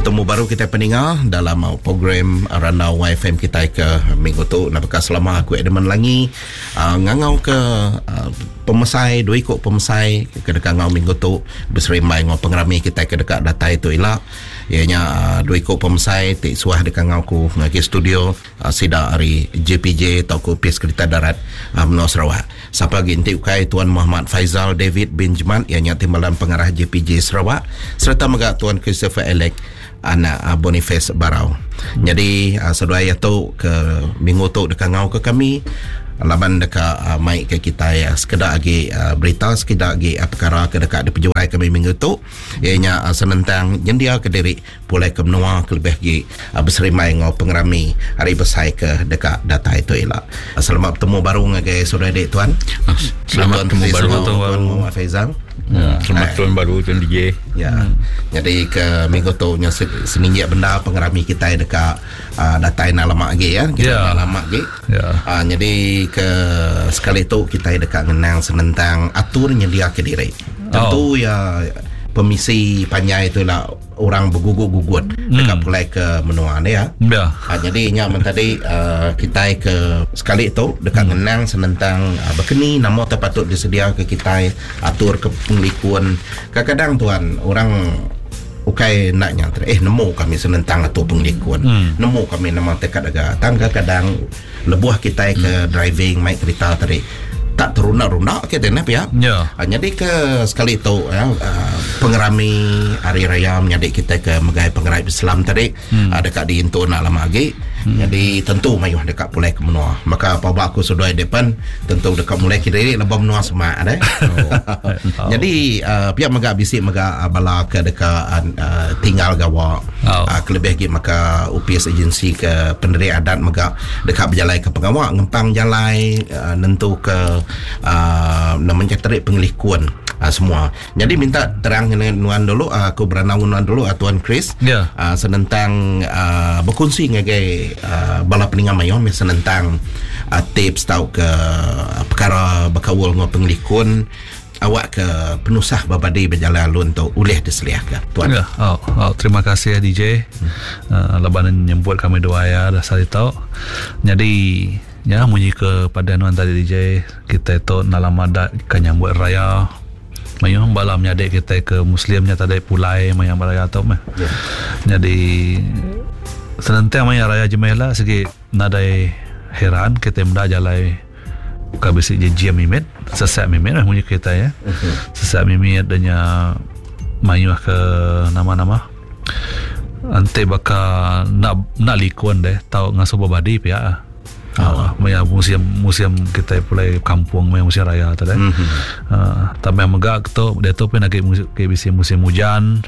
Betemu baru kitai peninga dalam program Randau YFM kitai ke minggu tu. Nah baka selama aku Edmund Langi uh, ngangau ke uh, pemesai dua iku pemesai ke deka ngau minggu tu beserimbai ngau pengerami kitai ke deka datai tu ila. Iya nya uh, dua iku pemesai ti suah deka ngau ku ngagai studio uh, sida ari JPJ tauka Opis Kereta Darat uh, menua Sarawak. Sapa agi enti ukai Tuan Muhammad Faizal David bin Jemat iya nya Timbalan Pengarah JPJ Sarawak sereta mega Tuan Christopher Alec anak Boniface Barau. Nyadi seduai iya tu ke minggu tu deka ngau ke kami laban deka mai ke kitai sekeda agi berita sekeda agi pekara ke deka dipejurai kami minggu tu iya nya senentang nyendia ke diri pulai ke menua kelebih agi beserimbai enggau pengerami hari besai ke deka datai tu ila. Selamat betemu baru ngagai saudara adik tuan. Selamat betemu baru tuan Muhammad Faizal. Ya. Selamat tahun baru tuan DJ. Ya. Jadi ke minggu tu nya seninjik bendar pengerami kitai deka uh, datai enda lama agi ya. Kita ya. lama agi. Ya. Uh, jadi ke sekali tu kitai deka ngenang senentang atur nyediaka diri. Tentu oh. ya pemisi panjai tu lah orang begugut-gugut hmm. dekat pulai ke menua ni ya. Ya. Ha, jadi nya men tadi uh, kitai ke sekali tu dekat hmm. ngenang senentang uh, bekeni nama te patut disedia ke kitai atur ke pengelikun. Kadang-kadang tuan orang ukai nak nya eh nemu kami senentang atur pengelikun. Hmm. Nemu kami nama tekad aga. Tang kadang-kadang lebuh kitai ke hmm. driving mai kereta tadi tak terunda-runda ke deh pia. Ya. Ha, jadi ke sekali tu ya, uh, pengerami hari raya menyadi kita ke megai pengerai Islam tadi hmm. uh, dekat diintu nak lama lagi. Hmm. Jadi tentu mayuh dekat pulai ke menua. Maka apa aku sudah depan tentu dekat mulai ke diri lebah menua semak deh. Oh. Jadi uh, pihak mega bisi mega uh, bala ke dekat uh, tinggal gawa. Oh. Uh, kelebih lagi maka UPS agensi ke penderi adat mega dekat berjalai ke pengawa ngempang jalai uh, nentu ke uh, namanya terik pengelikun uh, semua. Jadi minta terang dengan nuan dulu uh, aku beranau nuan dulu uh, Tuan Chris yeah. uh, senentang uh, berkongsi ngagai uh, bala peninga mayuh senentang uh, tips tau ke uh, perkara berkaul dengan pengelikun awak ke penusah berbadi berjalan alun tu ulih diseliahka tuan. Ya, oh, oh, terima kasih ya DJ. Hmm. Uh, laban nyebut kami dua ya dasar itu. Jadi ya munyi ke pada nuan tadi DJ kita tu dalam adat ke nyambut raya mayuh bala menyadi kita ke muslimnya tadi pulai maya raya tu meh. Yeah. Jadi senentang maya raya jemeh lah segi nadai heran kita meda jalai buka bisi jejim mimit sesak mimit lah munyi kita ya. Uh-huh. Sesak mimit danya mayuh ke nama-nama ante baka nak nak likun deh tau ngasuh berbadi pia. Oh. Uh, maya musim musim kita pulai kampung maya musim raya tu deh. Mm-hmm. Uh, tambah mega tu dia tu pun lagi musim, bisi musim hujan.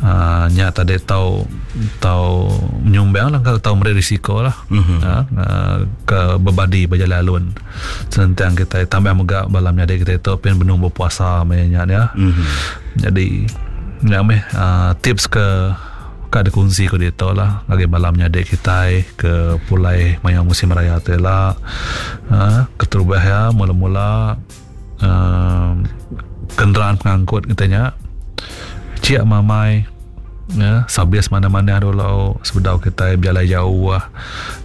Uh, nya tadi tau tau menyumbang lah tau meri risiko lah mm-hmm. uh, uh, ke bebadi berjalan alun senentang kita tambah mega balam nyadi kita tu pun benung berpuasa maya nya ya. Mm-hmm. Jadi nya meh uh, tips ke ka dikongsi ko ditu lah ngagai bala menyadi kitai ke pulai maya musim raya tu ila uh, keterubah ya mula-mula uh, kenderaan pengangkut kita nya cik mamai ya sabis mana-mana dulu sebedau kita berjalan jauh ah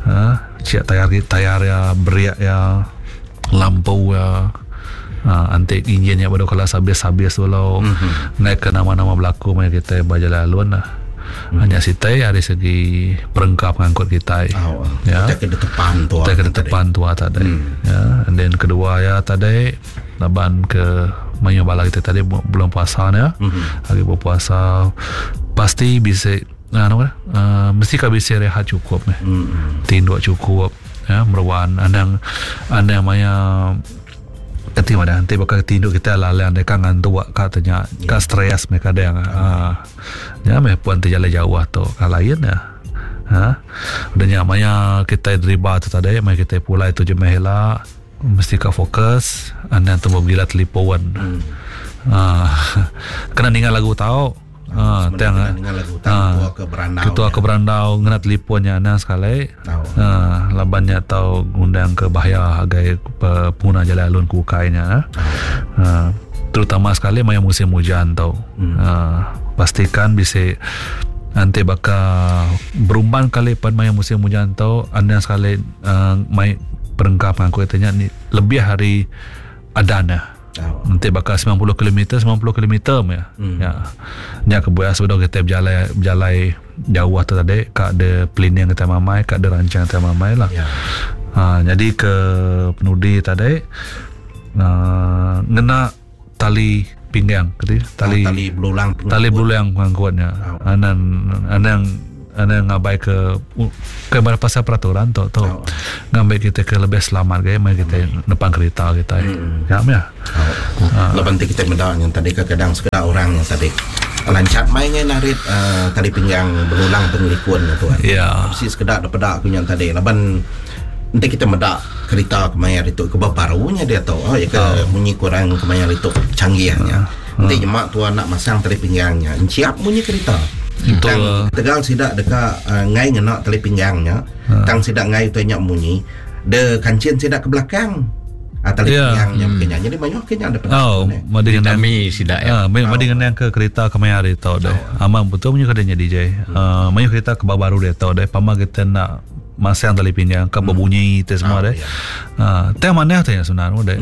uh, cik tayar tayar ya beriak ya lampu ya uh, antik enjin ya baru kalau sabis-sabis dulu mm-hmm. naik ke nama-nama berlaku maya kita berjalan alun lah mm-hmm. Hanya sitai dari segi perengkap pengangkut kita Oh, ya kita ke depan tu kita ke depan tua tadi mm. ya and then kedua ya tadi laban ke maya bala kita tadi bulan puasa ni ya mm-hmm. hari berpuasa pasti bisa uh, uh, mesti kau bisa rehat cukup meh mm-hmm. tinduk cukup ya meruan andang andang maya kati mana nanti bakal tinduk kita lalang dia kan ngantuk katanya Ya. ka stres mereka kadang ah ya meh puan terjalan jauh tu ka lain ya ha udah nya maya kita deriba tu tadi maya kita pulai tu je meh lah mesti ka fokus anda tu gila telefon hmm. ah kena dengar lagu tau Ah, Sebenarnya kena dengar lagu tau tua ke berandau. Ketua ke berandau ngena telefonnya ana sekali. Tau. Ah, labannya tau ngundang ke bahaya agai pengguna jalan alun ku ukainya. Ah, terutama sekali maya musim hujan tau. Hmm. Ah, pastikan bisa Enti baka berumban kali pen maya musim ujan tu anang sekali uh, mai perengka pengangkut kita nya ni lebih ari adan ya. Enti baka 90 km 90 km meh. Hmm. Ya. Nya kebuah sebedau kita bejalai bejalai jauh tu tadi ka de planning kita mamai ka de rancang kita mamai lah. Ya. Ha, jadi ke penudi tadi uh, ngena tali pinggang kati tali ah, tali belulang tali belulang pengangkutnya oh. anang anang anang ngabai ke ke bar pasal peraturan tu tu oh. ngambil kita ke lebih selamat ke mai kita nepan kereta kita hmm. ya ya oh. ha. Laban ti kita meda yang tadi kadang sekeda orang yang tadi lancat mai ngai narit uh, tali pinggang belulang pengelikun tu kan. Ya. Bisi sekeda daripada aku yang tadi laban Enti kita meda kerita kemaya ditu ke baru nya diatu oh ya ke oh. munyi kurang kemaya ditu canggih nya. Oh. Enti nyema tua nak masang tali pinggang nya enciap munyi kerita. Betul. Tang tegal sida deka uh, ngai ngena tali pinggang nya, uh. tang sida ngai utai nya munyi, de kancin sida ke belakang. Ah, tali yeah. pinggang nya hmm. Jadi mayuh ke nya ada Oh, madi kami sida ya. Ah, madi oh. ke kereta kemaya hari tu deh. Oh. Aman betul munyi kada nya DJ. Hmm. Uh, mayuh kereta ke baru dia tu deh. Pama kita nak masang tali pinggang ke berbunyi te semua deh. Ha, teh manah teh sebenarnya deh.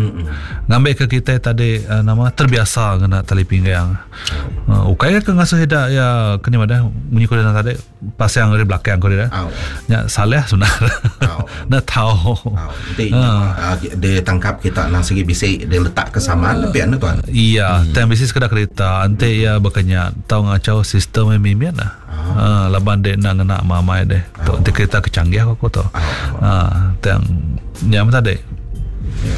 Ngambil ke kita tadi uh, nama terbiasa kena tali pinggang. Uh, ukai ke ngasuh ida ya kena madah munyi ko tadi pasang dari belakang ko dia. Nya salah sebenarnya. Nak tahu. Nanti uh, dia tangkap kita nang segi bisi dia letak kesamaan tapi anu tuan. Iya, hmm. tang bisi sekeda kereta ante ya bekenya tau ngacau sistem yang mimit lah. Ah, laban dek nak ngena mamai deh. Tu oh. kereta kecanggih aku tu. Ah, tang nya mata dek.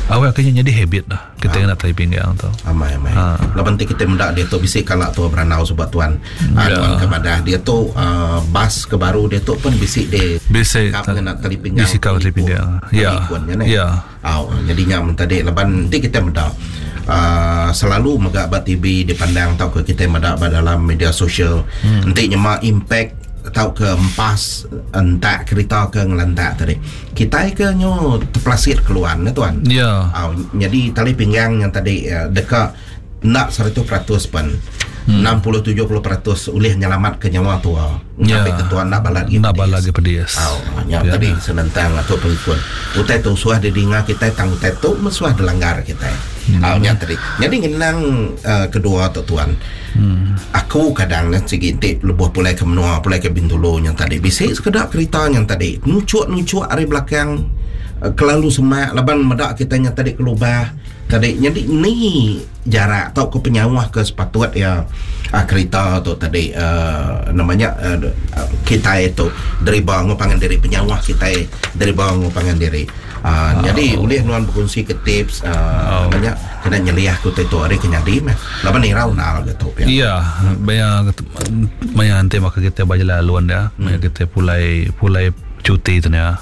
Awak kena jadi habit dah. Kita kena tali pinggang tu. Amai amai. Ha. Laban ti kita meda dia tu bisi kala tu beranau sebab tuan. Ha. Tuan kepada dia tu uh, bas ke baru dia tu pun bisi dia. Bisi kena tali pinggang. Bisi kau tali pinggang. Ya. Ya. Au, jadi nya men tadi laban enti kita meda uh, selalu mega ba TV dipandang tauka kita meda ba dalam media sosial hmm. enti nyema impact tauka empas entak kereta ke ngelantak tadi kitai ke nyu terpelasit keluar ne tuan ya yeah. Au, jadi tali pinggang yang tadi uh, deka enda 100% pen hmm. 60-70% ulih nyelamat ke nyawa tua ya. Ngambil ke tua enda balat agi Enda balat agi pedis. Au, nya ya. tadi senentang atur pengikut. Utai tu suah didinga kitai tang utai tu meh suah dilanggar kitai. Hmm. Au nya tadi. Jadi ngenang uh, kedua tu tuan. Hmm. Aku kadang ne sigi enti lebuh pulai ke menua, pulai ke Bintulu nya tadi bisi sekeda kerita nya tadi nuchuk-nuchuk ari belakang uh, kelalu semak laban meda kitai nya tadi kelubah tadi nyadi ni jarak tauka penyauh ke sepatut iya kerita tu tadi uhh nama nya uhh kitai tu deriba enggau pangan diri penyauh kitai deriba enggau pangan diri uhh nyadi ulih nuan bekunsi ke tips uhh nama nya kena nyeliah ke utai tu ari ke nyadi meh laban irau enda ga tu pia. Iya maya maya enti baka kitai ba jalai alun dia maya kitai pulai pulai cuti tu nya.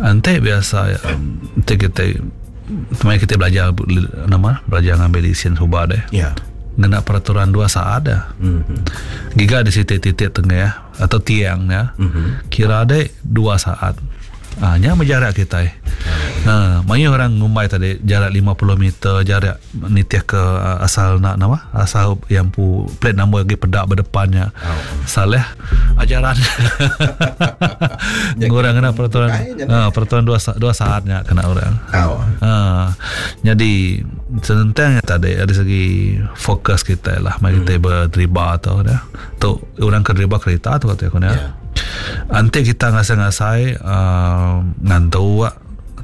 Enti biasa enti kitai maya kitai belajar nama belajar ngambil lesen suba deh. Ya. Ngena peraturan dua saat dah. Mm-hmm. Giga di siti titik tengah atau tiang ya. Mm-hmm. Kira deh dua saat. Ah nya meh jarak kitai. Ha mayuh orang ngumbai tadi jarak 50 meter jarak nitih ke asal nak nama asal yang empu plate number agi peda ba depan nya. Salah ajaran. Orang kena peraturan ha, peraturan dua dua saat nya kena orang. Ha, jadi senentang nya tadi dari segi fokus kita lah mari kita hmm. berdriba tu dah. Tu orang ke driba kereta tu kata aku ni. Yeah. Anti kita ngasai-ngasai uh, ngantuk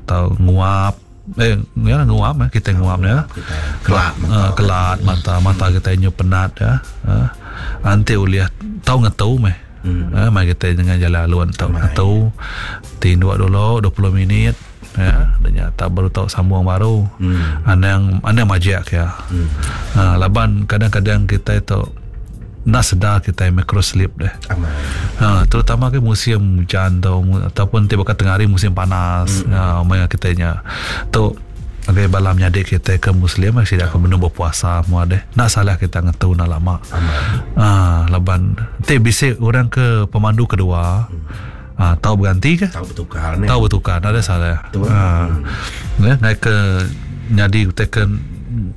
atau nguap eh ya nguap eh kita nguap ya kelat mata uh, kelat mata mata kita nyu penat ya uh, anti ulih tau ngetu meh hmm. uh, mai kita dengan jalan alun tau ngetu tinduk dulu 20 minit ya dan tak baru tau sambung baru hmm. anang anang majak ya hmm. uh, laban kadang-kadang kita tu Enda sedar kitai micro sleep deh. Amai. Ha, terutama ke musim hujan tu ataupun ti baka tengah hari musim panas. Hmm. Ha, maya kitai nya. Tu ngagai bala menyadi kitai ke muslim sida ke benung berpuasa mua deh. Enda salah kita ngetu enda lama. Amai. Ha, laban ti bisi orang ke pemandu kedua. Hmm. Ha, tau berganti ke? Tau bertukar ni. Tau bertukar, enda ada salah. Betul. Ha. Hmm. Ne, ngai ke nyadi utai ke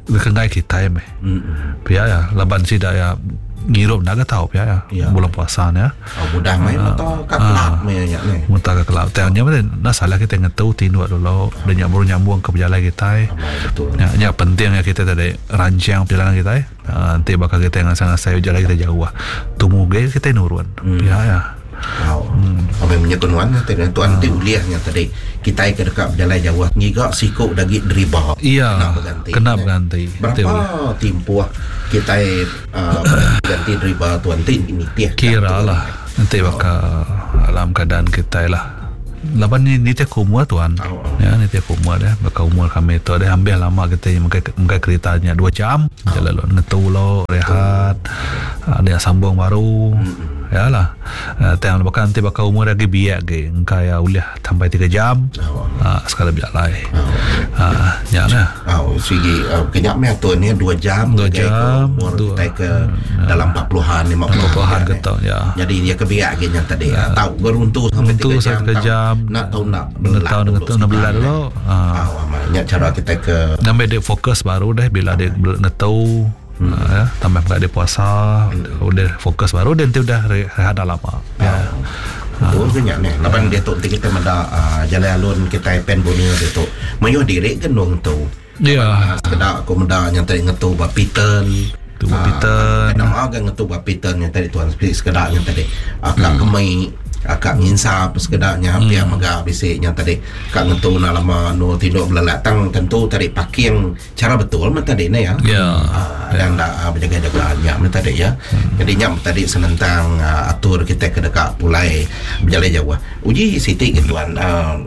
ke ngai kitai meh. Hmm. Pia ya, laban sida ya. Ngirup enda ga tau pia ya. Ya. Bulan puasa ne. Oh, mudah mai mata ka kelab maya nya neh. Mata ka kelab. Tang nya meh enda salah kitai ngetu tinduk dulu udah nya baru nyambung ke pejalai kitai. Amai betul. Nya nya penting nya kitai tadi rancang perjalanan kitai. Aaa enti baka kitai ngasai-ngasai pejalai kitai jauh tumu agi kitai nurun pia ya. Au. Amai menyekun nuan nya tadi tuan ti ulih nya tadi kitai ke deka bejalai jauh ngiga siku da agi deriba Iya, kena beganti. kena beganti. Berapa timpuh kitai Ganti deriba tu enti nitih Kira lah enti baka alam keadaan kitai lah. Laban ni nitih ke umur tuan. Ya nitih ke umur deh baka umur kami tu deh ambih lama kitai megai megai kerita nya dua jam ja lalu ngetu lo rehat dia sambung baru ya lah. Tang baka enti baka umur agi biak agi engka iya ulih sampai tiga jam sekali bejalai. Nya lah. Au sigi ke nya meh atur nya dua jam dua jam umur kitai ke dalam 40-an 50-an ke tu ya. Jadi dia ke biak agi nya tadi tau geruntu sampai tiga jam tau enda tau enda belelak dulu enda belelak dulu. Au amat nya cara kitai ke ngambi dia fokus baru deh bila dia ngetu ya tambah mega dia puasa udah fokus baru dia enti udah rehat dah lama. Ya. Betul ke nya neh laban diatu enti kitai meda uhh jalai alun kitai Pan Borneo diatu mayuh diri ke endung ngetu. Ya. Sekeda aku meda nya tadi ngetu ba Piton. Ngetu ba Piton. Nama ga ngetu ba Piton nya tadi tuan sekeda nya tadi ka kemi ka nginsap sekeda nya pia mega bisi nya tadi ka ngetu enda lama endur tinduk belelak tang tentu tadi parking Chara betul meh tadi ne ya. Ya. Anang enda bejaga-jaga nya meh tadi ya. Jadi nya meh tadi senentang atur kitai ke deka pulai bejalai jauh. Uji siti ke tuan uhh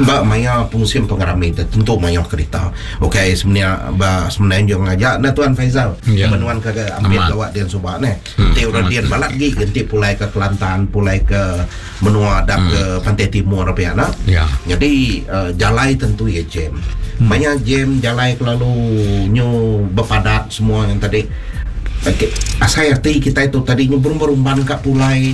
ba maya musim pengerami tu tentu mayuh kerita. Ukai semina ba semenanjung aja ne tuan Faizal. Ya. Menuan ke ambit gawa din suba neh. Enti orang din balat agi ke enti pulai ke Kelantan, pulai ke menua dap ke Pantai Timur pia ne. Ya. Jadi jalai tentu iya jam. Maya jam jalai kelalu nyu bepadat semua yang tadi. Okey, asai ati kitai tu tadi nyu berumban-rumban ka pulai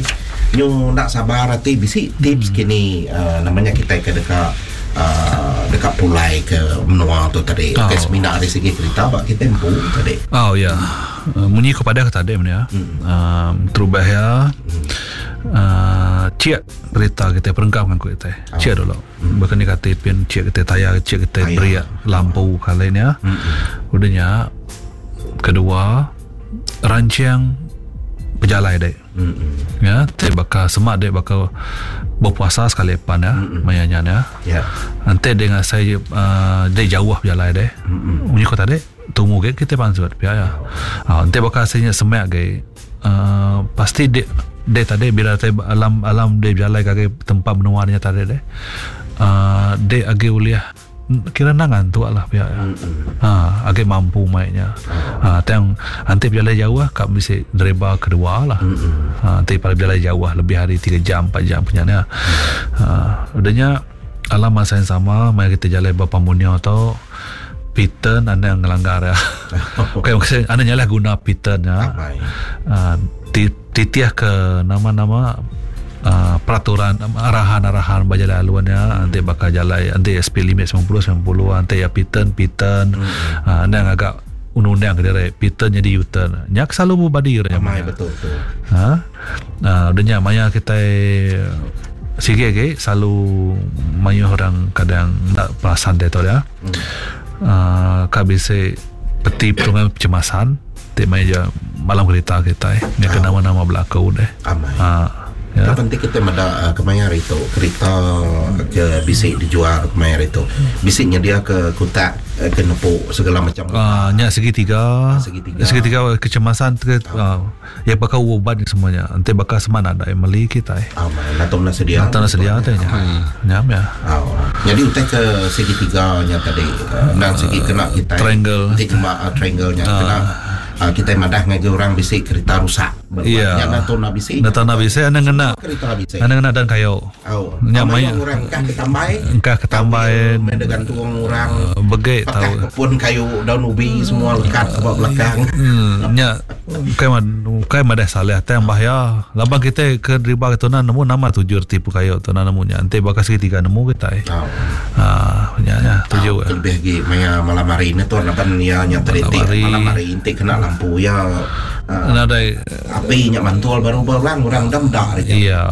nyu enda sabar ati bisi tips kini nama nya kitai ke deka uhh deka pulai ke menua tu tadi. Ukai semina ari segi kerita ba kitai empu tadi. Oh ya. Munyi ku padah ke tadi meh nya. Uhh terubah iya uhh chek kerita kitai perengka pengangkut kitai. Chek dulu. Baka ni kati pin chek kitai tayar chek kitai brek lampu kali nya. Udah nya kedua rancang pejalai dek. Ya ti baka sema dek baka berpuasa sekali pan ya maya nya nya. Enti dek ngasai uhh dek jauh pejalai dek. Munyi ku tadi tumu agi kitai pansut pia ya. Enti baka asai nya semak agi uhh pasti dek dek tadi bila dek alam alam dek bejalai ngagai tempat menua nya tadi deh uhh dek agi ulih kira enda ngantuk lah pia ya. uhh agi mampu mai nya uhh tang enti bejalai jauh ka bisi deriba kedua lah uhh enti bejalai jauh lebih ari tiga jam empat jam nya nya uhh udah nya alam masa yang sama maya kita jalai ba Pan Borneo tu Python anang ngelanggar iya. Bukan maksud anang nyalah guna Python nya. Uh, titih ke nama-nama uh, peraturan arahan-arahan ba jalai alun nya enti baka jalai enti speed limit 90 90 enti ya Python Python hmm. uh, anang agak undang-undang ke diri Python jadi U-turn. Nya selalu bebadi orang nya. Betul betul. Ha? Uh, udah nya maya kitai sigi agi selalu mayuh orang kadang enda perasan dia tu dia. Hmm. Uh, ka bisi peti pertolongan kecemasan ti maya je malam kerita kitai nya ke nama-nama berlaku deh. Amai. Ha. Ya. Yang penting kita meda kemaya hari tu kerita ke bisi dijual kemaya hari tu bisi nyedia ke kutak ke nepu segala macam. Ah nya segitiga. Segitiga. Segitiga kecemasan ke uh, Ya baka ubat semua nya. Enti baka sema nadai meli kitai. Amai natum enda sedia. Natum enda sedia tu nya. Nya meh. Au. Nyadi utai ke segitiga nya tadi endang sigi kena kitai. Triangle. Enti cuma triangle nya kena kitai madah ngagai orang bisi kerita rusak. Ya. Nya natum enda bisi. Natum enda bisi anang ngena. Kerita bisi. Anang ngena dan kayu. Au. Nya mayuh orang engkah ke tambai. Engkah ke tambai. Meh da gantung orang. Begek tau. Pakah ke pun kayu daun ubi semua lekat ba belakang. Nya ukai ukai madah salah tang bahaya laban kitai ke deriba ke tunan nemu nama tuju reti pun kayu tunan nemu nya enti baka segitiga nemu kitai. Au. Haa nya nya tuju. Lebih agi maya malam hari ne tuan laban iya nya tadi ti malam hari enti kena lampu. lampu iya nadai api nya mantul baru ba orang orang enda meda ari nya. Iya.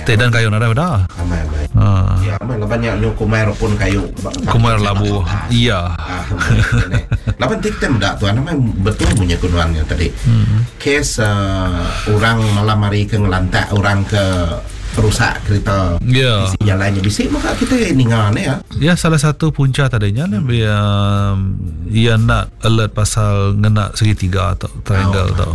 Ti dan kayu nadai meda. Amai amai. Ya amai laban nya nyu kumai repun kayu kumai labu. Iya. Laban ti kita meda tuan amai betul munyi ku nuan nya tadi. Kes orang malam hari ke ngelantak orang ke rusak kereta yeah. bisi jalai nya bisi mega kita ninga ne ya. Ya salah satu punca tadi nya mm. ia ia nak alert pasal ngena segitiga atau triangle oh, tu.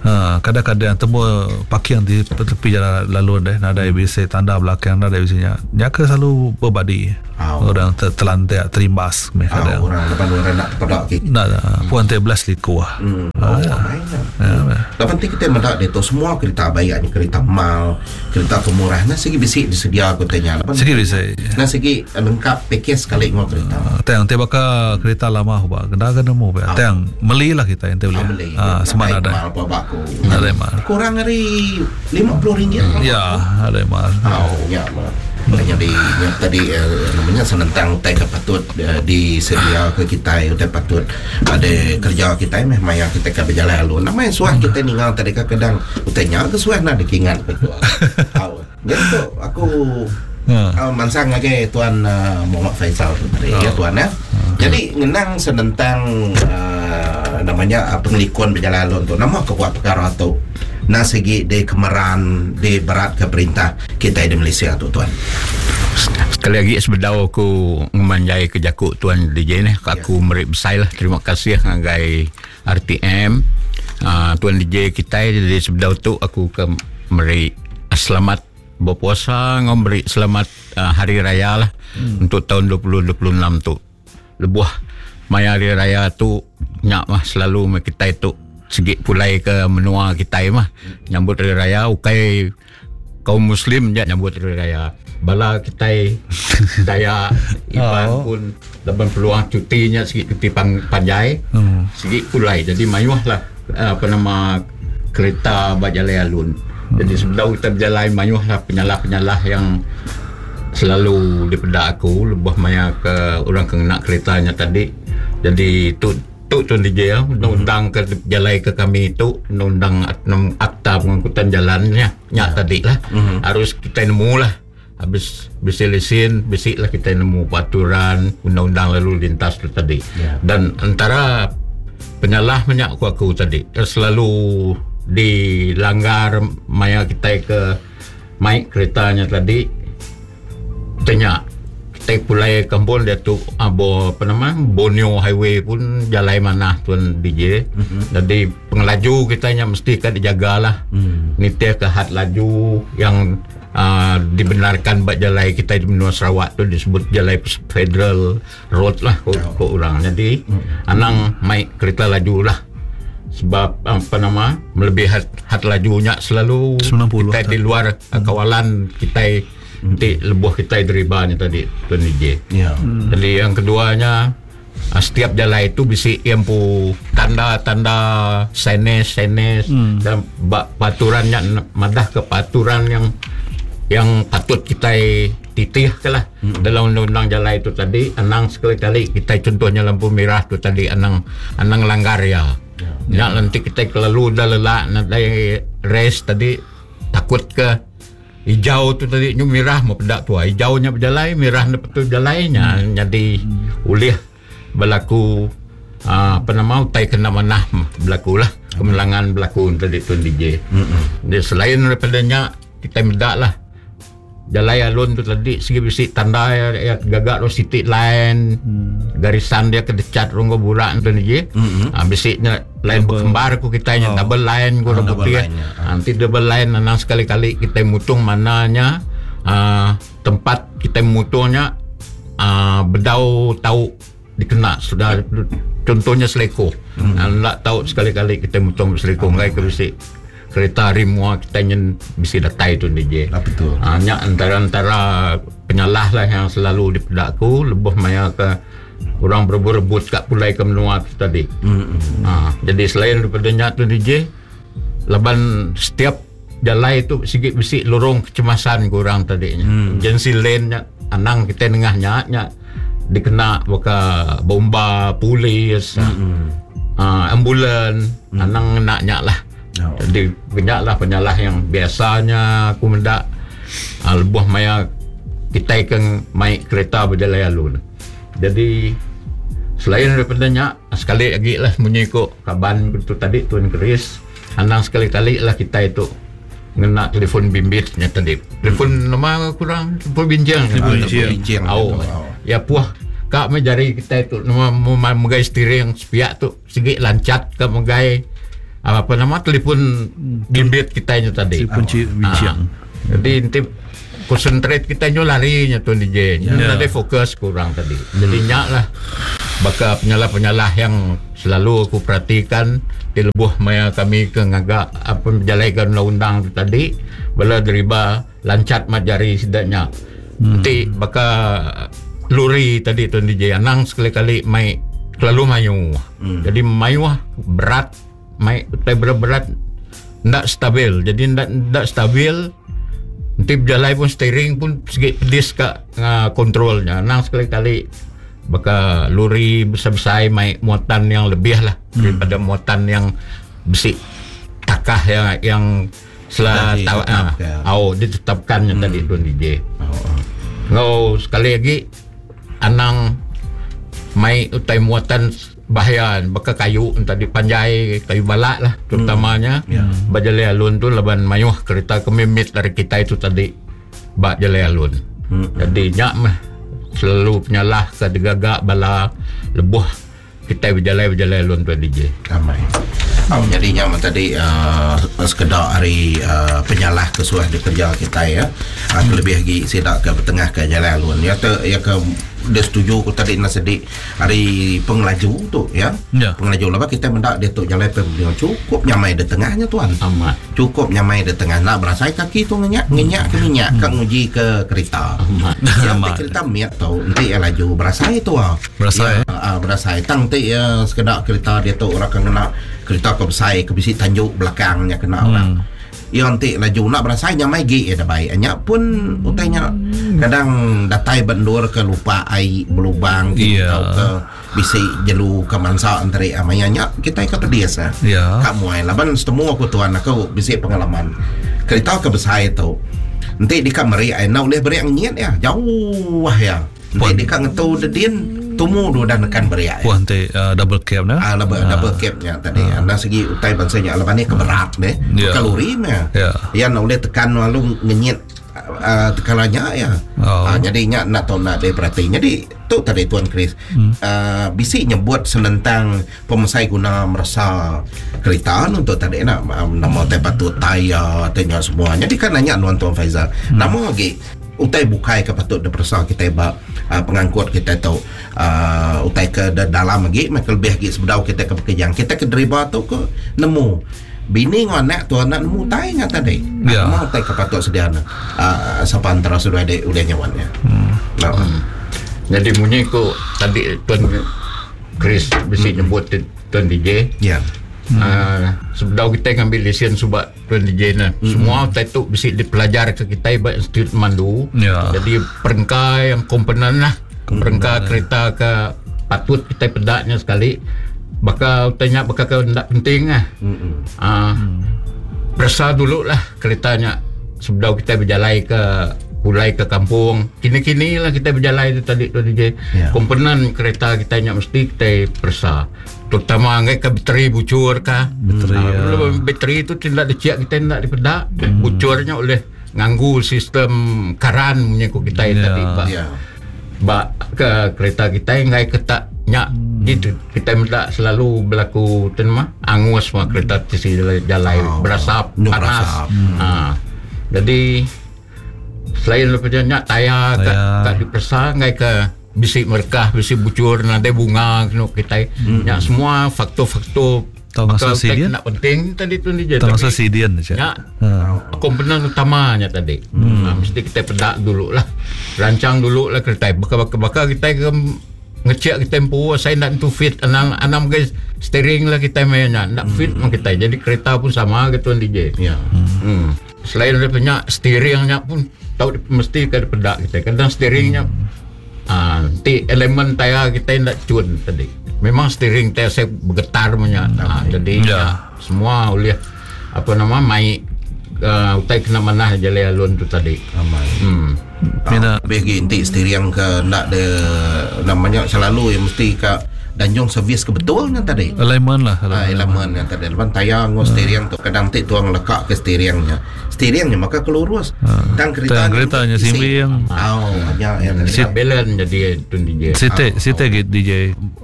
Ha kadang-kadang temu parking di tepi jalan lalu deh nadai bisi tanda belakang nadai bisi nya. Nya ke selalu berbadi. Oh. Orang ter, terlantik terimbas meh kadang. Oh, orang depan orang nak terpedak ke. Nak puan te belas liku. Hmm. Oh, ya. Ya. Laban ti kita meda ditu semua kereta bayak nya kereta mal, kereta ke murah nah sigi bisi disedia ku tanya. Laban sigi bisi. Nah sigi lengkap package sekali enggau kereta. Uh, tang ti baka kereta lama ba kena ke nemu ba. Tang meli lah kita enti boleh. Meli. Ah semak nadai. Mal pa baku. Nadai mal. Kurang ari RM50. Ya, nadai mal. Oh, ya. Nyadi nya tadi eh, namanya senentang utai ke patut eh, disedia ke kitai utai patut ada kerja kitai meh maya kitai ke bejalai alun. Nama yang suah kitai ninga tadi ka kadang utai nya ke suah nak dikingat ke tu. Au. Jadi tu aku uh, mansang ngagai tuan uh, Muhammad Faisal tu tadi ya tuan ya. Jadi ngenang senentang uh, namanya uh, pengelikun bejalai alun tu nama ke buat perkara tu na sigi di kemeran di berat ke perintah kitai di Malaysia tu tuan. Sekali lagi sebedau aku ngemanjai ke jaku tuan DJ ni, aku meri besai lah terima kasih ngagai RTM uh, tuan DJ kitai jadi sebedau tu aku ke meri selamat berpuasa ngau meri selamat uh, hari raya lah hmm. untuk tahun 2026 tu. Lebuh maya hari raya tu nya mah selalu kitai tu segi pulai ke menua kitai mah nyambut hari raya ukai kaum muslim ja nyambut hari raya bala kitai Dayak Iban oh. pun laban peluang cuti nya sigi cuti pang, panjai hmm. sigi pulai jadi mayuh lah eh, apa nama kereta ba jalai alun hmm. jadi sebedau kita berjalai mayuh lah penyalah-penyalah yang selalu dipeda aku lebuh maya ke orang ke ngena kereta nya tadi jadi tu Tu Tuan DJ ya, undang-undang ke jalai ke kami tu, undang-undang akta pengangkutan jalan nya, nya tadi lah. Harus kita nemu lah. Habis bisi lesen, bisi lah kita nemu peraturan undang-undang lalu lintas tu tadi. Dan antara penyalah banyak ku aku tadi, selalu dilanggar maya kita ke mai keretanya tadi. Tanya kitai pulai kampung diatu abo apa nama Borneo Highway pun jalai manah tuan DJ. Mm-hmm. Jadi pengelaju kita nya mesti ka dijagalah. Mm. Nitih ke had laju yang uh, dibenarkan ba jalai kita di menua Sarawak tu disebut jalai federal road lah ko, oh. ko orang. Jadi mm. anang mai kereta laju lah sebab apa nama melebihi had, had lajunya selalu 90 kita di luar mm. kawalan kita Enti lebuh kitai deriba nya tadi Tuan DJ. Ya. Jadi yang keduanya ah, setiap jalai itu bisi iya empu tanda-tanda signage-signage hmm. dan ba peraturan nya madah ke peraturan yang yang patut kitai titih ke lah hmm. dalam undang-undang jalai itu tadi anang sekali-kali kita contohnya lampu merah tu tadi anang anang langgar ya. Ya, ya. nanti kita kelalu dah lelak nadai rest tadi takut ke Ijau tu tadi nyu mirah meh peda tuai. Ijau nya bejalai, mirah enda betul bejalai nya hmm. nyadi hmm. ulih berlaku uh, apa nama utai kena manah berlaku lah. Kemelangan berlaku tadi tuan DJ. Hmm. Jadi selain daripada nya kita meda lah jalai alun tu tadi segi bisi tanda ya, ya gagak ro siti line hmm. garisan dia ke decat ronggo burak tu ni hmm. ha, bisi nya Line bekembar ku kitai nya double line ku orang putih. Enti double line anang sekali-kali kitai mutung mana nya uhh tempat kitai mutung nya uhh bedau tau dikena sudah contohnya selekoh. Enda tau sekali-kali kitai mutung selekoh enggai ke bisi kereta ari mua kitai nyen bisi datai tu DJ. Uhh nya antara-antara penyalah lah yang selalu dipeda ku lebuh maya ke Orang berebut-rebut ka pulai ke menua tu tadi. Mm-hmm. Ha, jadi selain daripada nya tu DJ, laban setiap jalai tu sigi bisi lorong kecemasan ke orang tadi nya. Mm. Emergency lane nya anang kita nengah nya nya dikena baka bomba, polis. Mm-hmm. Ambulan anang ngena nya lah. Jadi nya lah penyalah yang biasanya aku meda lebuh maya kitai ke mai kereta bejalai alun. Jadi selain daripada nya sekali agi lah munyi ku kaban ku tu tadi Tuan Chris anang sekali-kali lah kitai tu ngena telefon bimbit nya tadi. Telefon nama kurang telefon binching. Telefon binching. Au. Ya puh ka meh jari kitai tu nama megai steering sepiak tu sigi lancat ka megai apa nama telefon bimbit kitai nya tadi. Telefon binching. Ha. Jadi enti concentrate kitai nyu lari nya tuan DJ. Nya yeah. nadai fokus kurang tadi. Jadi nya lah baka penyalah-penyalah yang selalu aku perhatikan di lebuh maya kami ke ngaga apa bejalaika undang-undang tu tadi bala deriba lancat mat jari sida nya. Enti baka lori tadi tuan DJ anang sekali-kali mai kelalu mayuh. Jadi mayuh berat mai utai berat-berat enda stabil. Jadi enda enda stabil enti bejalai pun steering pun sigi pedis ka control nya. Anang sekali-kali baka lori besai-besai mai muatan yang lebih lah daripada muatan yang bisi takah yang yang sela tau au ditetapkan nya tadi Tuan DJ. Enggau sekali agi anang mai utai muatan bahaya baka kayu tadi panjai kayu balak lah terutamanya ba jalai alun tu laban mayuh kereta ke mimit ari kitai tu tadi ba jalai alun. Jadi nya meh selalu penyalah ke digaga bala lebuh kitai bejalai-bejalai alun tu DJ. Amai. Jadi nya meh tadi uhh sekeda ari uhh penyalah ke suah dikereja kitai ya. Uhh kelebih agi sida ke betengah ke jalai alun. Ya te ya ke deh setuju ku tadi enda sedi ari pengelaju tu ya. Ya. Pengelaju laban kitai meda diatu jalai Pan Borneo chukup nyamai da tengah nya tuan. Amat. Chukup nyamai da tengah enda berasai kaki tu ngenyak ngenyak ke minyak ka nguji ke kerita. Amat. Ya enti Amat. kerita mit tu enti iya laju berasai tu ah. Berasai, Ya ah berasai tang enti iya sekeda kerita diatu orang ke ngena kerita ke besai ke bisi tanju belakang nya kena orang. Iya enti laju enda berasai nyamai gi iya da bai. Nya pun utai nya kadang datai ba endur ke lupa ai belubang ti Iya. tauka bisi jelu ke mansa enteri maya nya kitai ke pedis ah. Iya. Ka muai laban setemu aku tuan aku bisi pengalaman. Kerita ke besai tu enti deka meri ai enda ulih beri ngenyit iya jauh iya. Enti deka ngetu dedin tumu du udah nekan beri ai. Puh enti double cab ne. Ah double, double cab nya tadi. Uh. Enda segi utai bansa nya laban iya ke berat ne. Yeah. Bukan lori meh. Yeah. Iya enda ulih tekan lalu ngenyit uh, tekala nya iya. Oh. Jadi nya enda tau enda diperati. Jadi tu tadi Tuan Chris. Bisi nyebut senentang pemesai guna meresa kerita nu tu tadi nak nama tai patut tayar tai nya semua. Jadi kan nanya nuan Tuan Faizal. Nama agi utai bukai ke patut diperesa kitai ba pengangkut kitai tu uhh utai ke dalam agi meh kelebih agi sebedau kitai ke bekejang kitai ke deriba tu ke nemu bini enggau anak tu anak nemu utai nya tadi Ya. nama utai ke patut sedia ne uhh sapa antara seduai dek ulih nyawan nya. Hmm. Jadi munyi ku tadi Tuan Chris bisi nyebut Tuan DJ. Ya. Uh, sebedau kitai ngambil lesen suba Tuan DJ ne. Mm-hmm. Semua utai tu bisi dipelajar ke kitai ba Institut Mandu. Ya. Jadi perengka yang komponen lah. Perengka kereta ke patut kitai peda nya sekali. Baka utai nya baka ke enda penting lah. Mm-hmm. Peresa dulu lah kereta nya sebedau kitai bejalai ke pulai ke kampung. Kini-kini lah kitai bejalai tu tadi Tuan DJ. Ya. Komponen kereta kitai nya mesti kitai peresa. Terutama enggai ke bateri bucur ka. Bateri, Ah, ya. Belum bateri tu tindak diciak kitai enda dipeda. Bucur nya oleh nganggu sistem karan munyi ku kitai Ya. tadi ba. Ya. Ba ke kereta kitai enggai ke tak nya gitu kitai meda selalu berlaku tu nama angus mah kereta tisi jalai Oh. berasap Nyuk panas. berasap. Ha. Jadi selain daripada nya tayar kat Tayar. kat diperesa enggai ke bisi merekah bisi bucur nadai bunga kenu kitai nya semua faktor-faktor Tau baka ngasuh utai sedian? nak penting tadi tu ni je Tau tapi ngasuh sidian aja. nya Ha. komponen utama nya tadi. Ha, mesti kita peda dulu lah. Rancang dulu lah kereta. Baka baka kita ke ngecek kita empu saya nak tu fit anang anang guys steering lah kita main nya nak fit mah kita. Jadi kereta pun sama gitu DJ. Ya. Selain daripada nya steering nya pun tahu mesti ke peda kita. Kadang steering nya nanti elemen tayar kita nak cun tadi. Memang steering teh saya bergetar punya. Ha, jadi ya. Semua oleh apa nama mai utai kena manah jalai alun tu tadi. Amai. Mina lebih lagi enti steering ke ndak de namanya selalu yang mesti ka danjung servis ke betul nya tadi. Alignment lah. Ha, alignment nya tadi. Lepas tayar ngau steering tu kadang ti tuang lekak ke steering nya. Steering nya maka kelurus. Tang kereta Tang kereta nya simbing. Oh, nya yang tadi. Sit balance jadi tun DJ. Siti siti gi DJ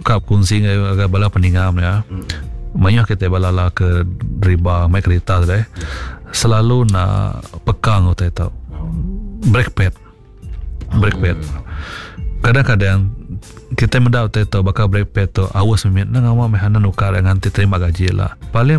ka kongsi ngagai bala peninga ya. Mayuh kita bala la ke driba mai kereta tu deh. Selalu nak pekang utai tu. Brake pad. Brake pad. Kadang-kadang kita meda utai tu baka brake pad tu aus mimit nang awak meh nukar nganti terima gaji lah. Paling.